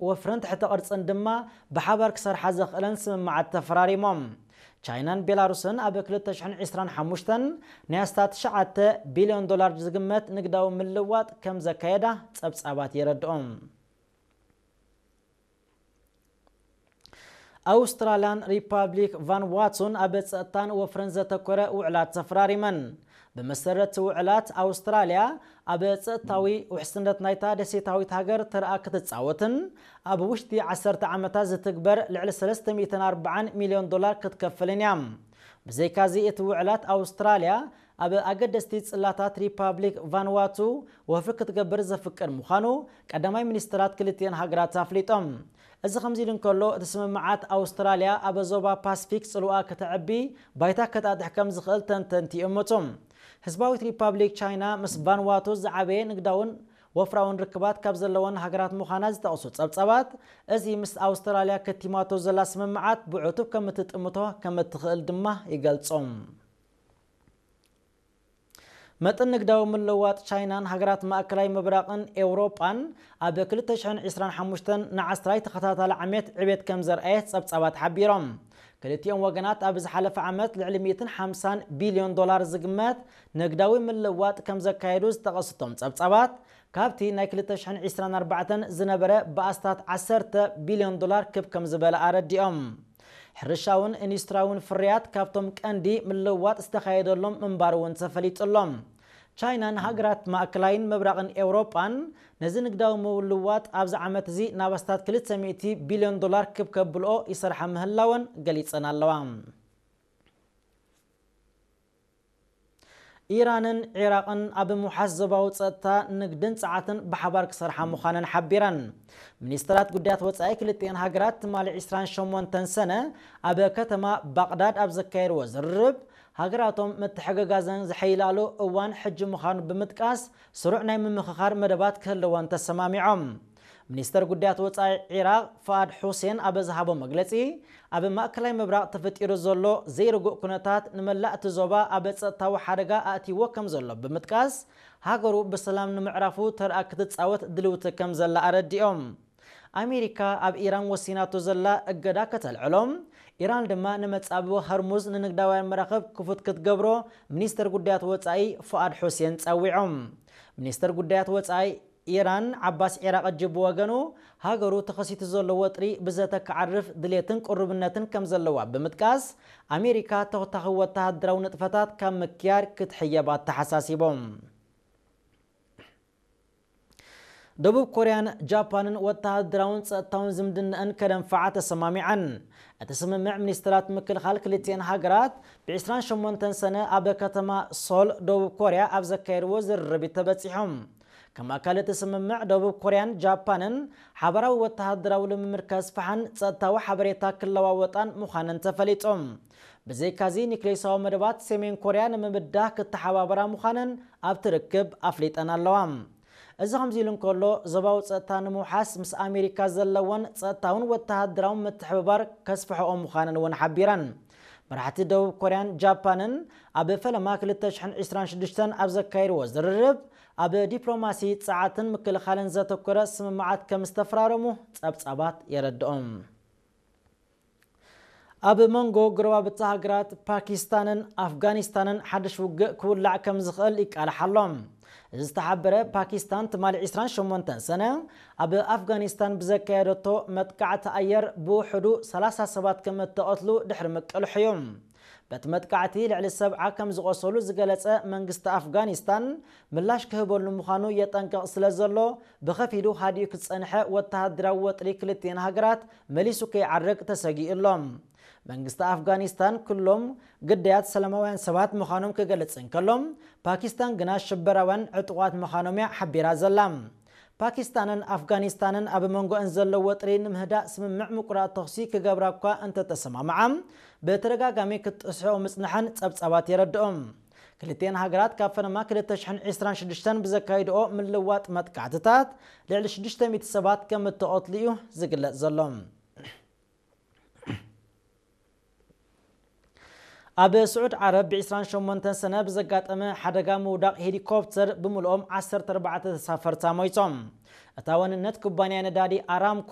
ወፍርን ትሕተ ቅርጽን ድማ ብሓባር ክሰርሓ ዘኽእለን ስምምዓት ተፈራሪሞም። ቻይናን ቤላሩስን ኣብ ክልተ ሽሕን ዕስራን ሓሙሽተን ናይ ኣስታት ትሽዓተ ቢልዮን ዶላር ዝግመት ንግዳዊ ምልዋጥ ከም ዘካየዳ ጸብጻባት የረድኦም። ኣውስትራልያን ሪፓብሊክ ቫንዋቱን ኣብ ጸጥታን ወፍርን ዘተኮረ ውዕላት ተፈራሪመን። ብመሰረት ውዕላት ኣውስትራልያ ኣብ ጸጥታዊ ውሕስነት ናይታ ደሴታዊት ሃገር ተርኣ ክትጻወትን ኣብ ውሽጢ ዓሰርተ ዓመታት ዝትግበር ልዕሊ ሰለስተ ሚእትን ኣርባዓን ሚልዮን ዶላር ክትከፍልን እያ። ብዘይካዚ እቲ ውዕላት ኣውስትራልያ ኣብ ኣገደስቲ ጽላታት ሪፓብሊክ ቫንዋቱ ወፍሪ ክትገብር ዘፍቅድ ምዃኑ ቀዳማይ ሚኒስትራት ክልቲኤን ሃገራት ኣፍሊጦም። እዚ ከምዚ ኢሉ እንከሎ፣ እቲ ስምምዓት ኣውስትራልያ ኣብ ዞባ ፓስፊክ ጽልዋ ከተዕቢ ባይታ ከጣጥሕ ከም ዝኽእል ተንተንቲ ይእምቱ። ህዝባዊት ሪፓብሊክ ቻይና ምስ ቫንዋቱ ዝዓበየ ንግዳውን ወፍራውን ርክባት ካብ ዘለወን ሃገራት ምዃና ዝጠቕሱ ጸብጻባት፣ እዚ ምስ ኣውስትራልያ ከቲማቶ ዘላ ስምምዓት ብዕቱብ ከም እትጥምቶ ከም እትኽእል ድማ ይገልጹ። መጠን ንግዳዊ ምልውዋጥ ቻይናን ሃገራት ማእከላይ ምብራቕን ኤውሮጳን ኣብ ክልተ ሽሕን ዕስራን ሓሙሽተን ንዓስራይ ተኸታታሊ ዓመት ዕቤት ከም ዘርኣየ ጸብጻባት ሓቢሮም። ክልቲኦም ወገናት ኣብ ዝሓለፈ ዓመት ልዕሊ ሚእትን ሓምሳን ቢልዮን ዶላር ዝግመት ንግዳዊ ምልውዋጥ ከም ዘካየዱ ዝጠቐሱ እቶም ጸብጻባት፣ ካብቲ ናይ ክልተ ሽሕን ዕስራን ኣርባዕተን ዝነበረ ብኣስታት ዓሰርተ ቢልዮን ዶላር ክብ ከም ዝበለ ኣረዲኦም። ሕርሻውን ኢንዱስትሪያውን ፍርያት ካብቶም ቀንዲ ምልውዋጥ ዝተኻየደሎም ምንባሩ እውን ተፈሊጡ ኣሎ። ቻይናን ሃገራት ማእከላይን ምብራቕን ኤውሮጳን ነዚ ንግዳዊ ምልውዋጥ ኣብዚ ዓመት እዚ ናብ ኣስታት ክልተ ሚእቲ ቢልዮን ዶላር ክብ ከብልኦ ይሰርሓ ምህላወን ገሊጸን ኣለዋ። ኢራንን ዒራቕን ኣብ ምውሓስ ዞባዊ ጸጥታ፣ ንግድን ጸዓትን ብሓባር ክሰርሓ ምዃነን ሓቢረን። ሚኒስትራት ጉዳያት ወጻኢ ክልቲኤን ሃገራት ትማሊ ዕስራን ሸሞንተን ሰነ ኣብ ከተማ ባቕዳድ ኣብ ዘካየድዎ ዝርርብ፣ ሃገራቶም ምትሕግጋዘን ዘሐይላሉ እዋን ሕጂ ምዃኑ ብምጥቃስ፣ ስሩዕ ናይ ምምኽኻር መደባት ክህልወን ተሰማሚዖም። ሚኒስተር ጉዳያት ወጻኢ ዒራቕ ፍኣድ ሑሴን ኣብ ዝሃቦ መግለጺ፣ ኣብ ማእከላይ ምብራቕ ተፈጢሩ ዘሎ ዘይርጉእ ኩነታት ንመላእ እቲ ዞባ ኣብ ጸጥታዊ ሓደጋ ኣእትይዎ ከም ዘሎ ብምጥቃስ፣ ሃገሩ ብሰላም ንምዕራፉ ተርኣ ክትጻወት ድልውቲ ከም ዘላ ኣረዲኦም። ኣሜሪካ ኣብ ኢራን ወሲናቶ ዘላ እገዳ ከተልዕሎ፣ ኢራን ድማ ንመጻብቦ ሆርሙዝ ንንግዳውያን መራኽብ ክፉት ክትገብሮ ሚኒስተር ጉዳያት ወጻኢ ፍኣድ ሑሴን ጸዊዖም። ሚኒስተር ጉዳያት ወጻኢ ኢራን ዓባስ ዒራቕጂ ብወገኑ፣ ሃገሩ ተኸሲቱ ዘሎ ወጥሪ ብዘተ ክዓርፍ ድሌትን ቅሩብነትን ከም ዘለዋ ብምጥቃስ፣ ኣሜሪካ ተኸታኺ ወተሃደራዊ ንጥፈታት ካብ ምክያድ ክትሕየብ ኣተሓሳሲቦም። ደቡብ ኮርያን ጃፓንን ወተሃደራውን ጸጥታውን ዝምድናኣን ከደንፍዓ ተሰማሚዐን። እቲ ስምምዕ ሚኒስትራት ምክልኻል ክልቲኤን ሃገራት ብ ዕስራን ሸሞንተን ሰነ ኣብ ከተማ ሶል ደቡብ ኮርያ ኣብ ዘካየድዎ ዝርርብ እዩ ተበጺሖም። ከም ኣካል እቲ ስምምዕ፣ ደቡብ ኮርያን ጃፓንን ሓባራዊ ወተሃደራዊ ልምምድ ከስፍሓን ጸጥታዊ ሓበሬታ ክለዋወጣን ምዃነን ተፈሊጡ። ብዘይካዚ፣ ኒክሌሳዊ መደባት ሰሜን ኮርያ ንምብዳህ ክተሓባበራ ምዃነን ኣብቲ ርክብ ኣፍሊጠን ኣለዋ። እዚ ከምዚ ኢሉ እንከሎ፣ ዞባዊ ጸጥታ ንምውሓስ ምስ ኣሜሪካ ዘለወን ጸጥታውን ወተሃደራውን ምትሕብባር ከስፍሕኦ ምዃነን እውን ሓቢረን። መራሕቲ ደቡብ ኮርያን ጃፓንን ኣብ ፈለማ ክልተ ሽሕን ዕስራን ሽዱሽተን ኣብ ዘካየድዎ ዝርርብ፣ ኣብ ዲፕሎማሲ፣ ጸዓትን ምክልኻልን ዘተኮረ ስምምዓት ከም ዝተፈራረሙ ጸብጻባት የረድኦም። ኣብ መንጎ ጎረባብቲ ሃገራት ፓኪስታንን ኣፍጋኒስታንን ሓድሽ ውግእ ክውላዕ ከም ዝኽእል ይቃልሕ ኣሎ። እዚ ዝተሓበረ፣ ፓኪስታን ትማሊ ዕስራን ሸሞንተን ሰነ ኣብ ኣፍጋኒስታን ብዘካየደቶ መጥቃዕቲ ኣየር ብውሕዱ ሰላሳ ሰባት ከም እተቐትሉ ድሕሪ ምቅልሑ እዩ። በቲ መጥቃዕቲ ልዕሊ ሰብዓ ከም ዝቖሰሉ ዝገለጸ መንግስቲ ኣፍጋኒስታን፣ ምላሽ ክህበሉ ምዃኑ የጠንቅቕ ስለ ዘሎ፣ ብኸፊሉ ሃዲኡ ክጸንሐ ወተሃደራዊ ወጥሪ ክልቲኤን ሃገራት መሊሱ ከይዓርግ ተሰጊኡ ኣሎ። መንግስቲ ኣፍጋኒስታን ኩሎም ግዳያት ሰላማውያን ሰባት ምዃኖም ክገልጽ እንከሎ፣ ፓኪስታን ግና ሽበራውያን ዕጡቓት ምዃኖም እያ ሓቢራ ዘላ። ፓኪስታንን ኣፍጋኒስታንን ኣብ መንጎአን ዘሎ ወጥሪ ንምህዳእ ስምምዕ ምቁራጽ ተኹሲ ክገብራ እኳ እንተተሰማምዓ፣ ብተደጋጋሚ ክትጥስሕኦ ምጽንሐን ጸብጻባት የረድኦም። ክልቲኤን ሃገራት ካብ ፈለማ ክልተ ሽሕን ዕስራን ሽዱሽተን ብዘካይድኦ ምልዋጥ መጥቃዕትታት ልዕሊ ሽዱሽተ ሚእቲ ሰባት ከም እተቐትሉ እዩ ዝግለጽ ዘሎ። ኣብ ስዑድ ዓረብ ብ28 ሰነ ብዘጋጠመ ሓደጋ ምውዳቕ ሄሊኮፕተር ብምልኦም ዓሰርተ ኣርባዕተ ተሳፈርታ ሞይቶም። እታ ዋንነት ኩባንያ ነዳዲ ኣራምኮ